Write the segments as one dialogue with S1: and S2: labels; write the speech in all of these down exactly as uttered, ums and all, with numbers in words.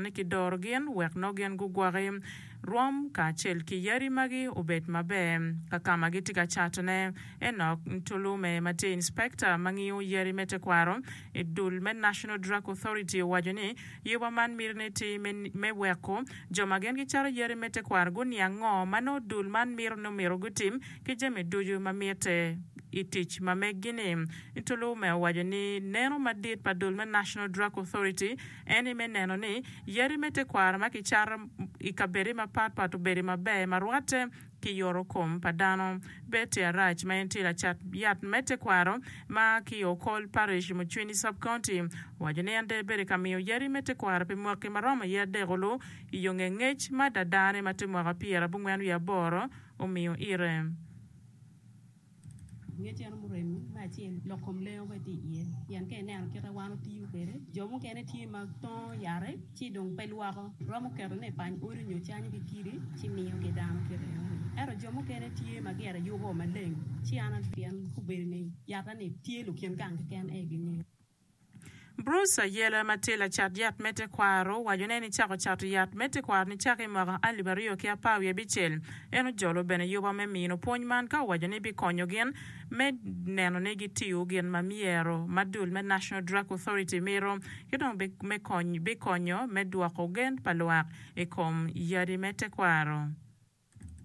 S1: ni kidoro gin wek nongo gin gugwoki rwom kacel ki yadi magi obed maber ka ka ma gitye ka catone. Enoch Ntulume ma tye inspector ma ngiyo yadi me tekwaro i dul me National Drug Authority owaco ni yuba man mitine tye me weko jo ma gin gicato yadi me tekwaro guniang ngo ma nongo dul man mito ni omyero gutim ki jami ducu ma mitte i tic ma meggi-ni. Ntulume owaco ni neno madit pa dul me National Drug Authority en aye me neno ni yadi me tekwaro ma kicato i kabedde mapatpat obedo maber ma rwatte ki yoto kom pa dano. Betty Arac ma en tye lacat yat me tekwaro ma ki i Okol Parish, Mucwini Sub-County owaco ni en dong ebedo ka miyo yadi me tekwaro pi mwaki ma romo iye adek olu i yo nge ngec ma dadane ma tye mwaka pyerabongwen wiye aboro omiyo ire.
S2: Ngec eno murem me acel lok kom lengo bene tye iye pien ka ineno kite wan otiyo kwede jo mukene tye ma tongo yate ci dong pe lwoko romo ketone i pany odi nyo canyo ki kidi ci miyo ki dano kite enoni ento jo mukene tye ma gire yubo maleng ci an pien obedo ni yata-ni tye lukin gang keken aye gingeyo.
S1: Bruce Ayela ma tye lacat yat me tekwaro owaco ni en ecako cato yat me tekwaro nicako i mwaka alip aryo ki apar wiye abicel. En ojolo bene yuba me mino pwony man ka owaco ni bikonyo gin me neno ni gitiyo gin ma myero ma dul me National Drug Authority mito ki dong bikonyo me dwoko gen pa lwak i kom yadi me tekwaro.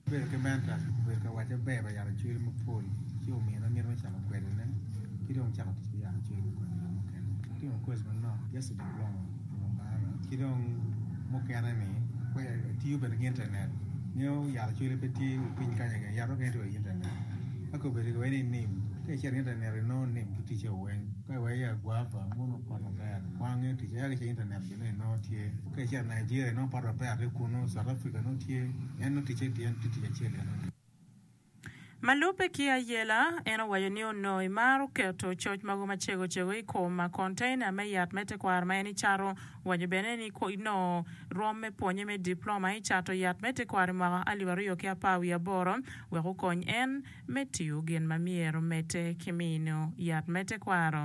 S3: Abedo ki mentor, obedo ka wacca ber pa yat acwele mapol ci omina miti me cako kwedone ki dong cako tic ki yat acwele me konyo jo mukene. Atimo course manok, just a diploma i Mbarara ki dong mukene ni atiyo bene ki internet ngeyo yat acwele pe tye i piny kany keken yat mukene tye wa i internet ka kobedo ki wai ni nim ka icito i internet inongo nim ki ticce weng ka iwai ya guava muno pot maber kwan ngeyo ticce ento ka icito i internet bene inongo tye ka icito Nigeria inongo pot maber tye kunu South Africa nongo tye en nongo ticce tye en tye tic acel enoni.
S1: Ma lubbe ki Ayela, en owaco ni onongo emaro keto coc mogo macego cego i kom konteina me yat me tekwaro ma en ecato. Owaco bene ni onongo rwom me pwonye me diploma i cato yat me tekwaro i mwaka alip aryo ki apar wiye aboro wek okony en me tiyo gin ma myero medde ki mino yat me tekwaro.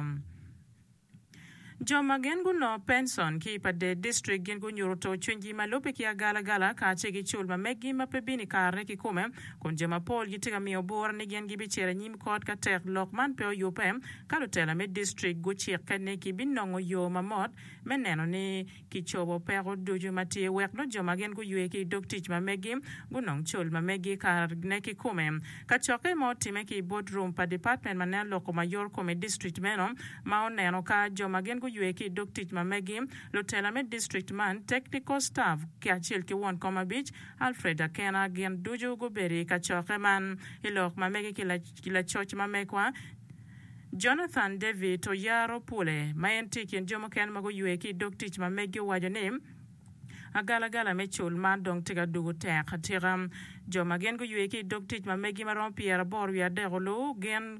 S1: Jo ma gin gunongo pension ki i Pader District gin gunyuto to cwinygi ma lubbe ki agalagala kacel ki cul ma meggi ma pe bino i karene kikome kun jo mapol gitye ka miyo bura ni gin gibicito i nyim kot ka tek lok man pe oyubbe ka lutela me district gucikke ni gibinongo yo mamot me neno ni kicobo peko ducu ma tye wek nongo jo ma gin guywe ki i dog tic ma meggi gunong cul ma meggi i karene kikome. Kacokke ma otimme ki i boardroom pa department ma neno lok kom ayor kom i district meno ma oneno ka jo ma gin guywe ki i dog tic ma meggi, lutela me district man, technical staff kacel ki won kom abic Alfred Akena gin ducu gubedo i kacokke man. I lok ma mege ki lacoc ma megwa, Jonathan David Oyaro Pule, ma en tye i kin jo mukene ma guywe ki i dog tic ma meggi owaco ni agalagala me cul man dong tye ka dugo tek atika. Jo ma gin guywe ki i dog tic ma meggi ma romo pyeraboro wiye adek olu gin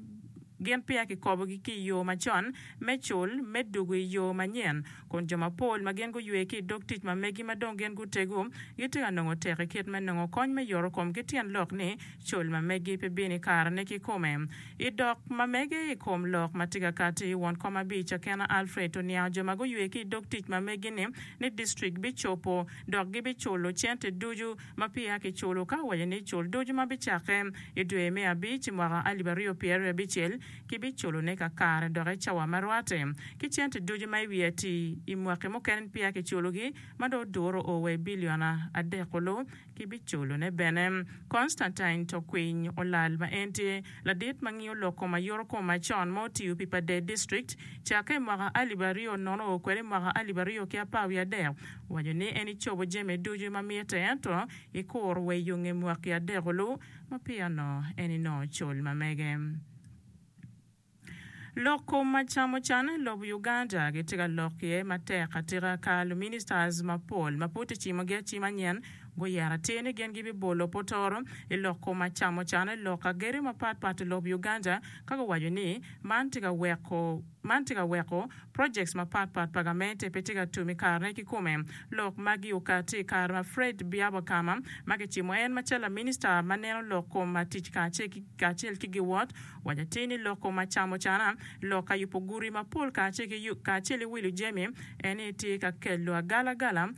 S1: gin peya kikobogi ki i yo macon me cul me dugo i yo manyen kun jo mapol ma gin guywe ki i dog tic ma meggi ma dong gin gutego gitye ka nongo tek i kit me nongo kony me yoto kom ki tyen lok ni cul ma meggi pe bino i karene kikome. I dok ma mege i kom lok ma tye ka kati, won kom abic Akena Alfred oniango jo ma guywe ki i dog tic ma meggi-ni ni distrik bicobo dok gibiculo cente ducu ma peya kiculo ka owaco ni cul ducu ma bicakke i dwe me abic mwaka alip aryo pyeraryo abicel kibiculone kakare dok i cawa ma rwatte ki cente ducu ma i wiye ati i mwaki mukene peya kiculogi ma dong oduro o wa i bilion adek olu kibiculone bene. Constantine Tokwiny Olal ma en tye ladit ma ngiyo lok kom ayuto kom macon ma otiyo pi Pader District cakke i mwaka alip aryo nono o kwede i mwaka alip aryo ki apar wiye adek owaco ni en ecobo jami ducu ma mitte ento ikuro wa i yo nge mwaki adek olu ma peya onongo en enongo cul ma mege. Lok kom ma camo can i lobo Uganda gitye ka lok iye matek atika ka luministers mapol ma pud kicimogi acima nyen guyero atir ni gin gibibolo potoro i lok kom ma camo can i lok agedo mapatpat i lobo Uganda ka guwaco ni man tye ka weko man tye ka weko projects mapatpat pa gamente pe tye ka tum i karene kikome. Lok magi okati i kare ma Fred Byabakama ma kicimo en macalo laminista ma neno lok kom tic kacel ki giwot waco atir ni lok kom acamo cana lok ka yubo gudi mapol kacel ki wilo jami en ni tye ka kelo agalagala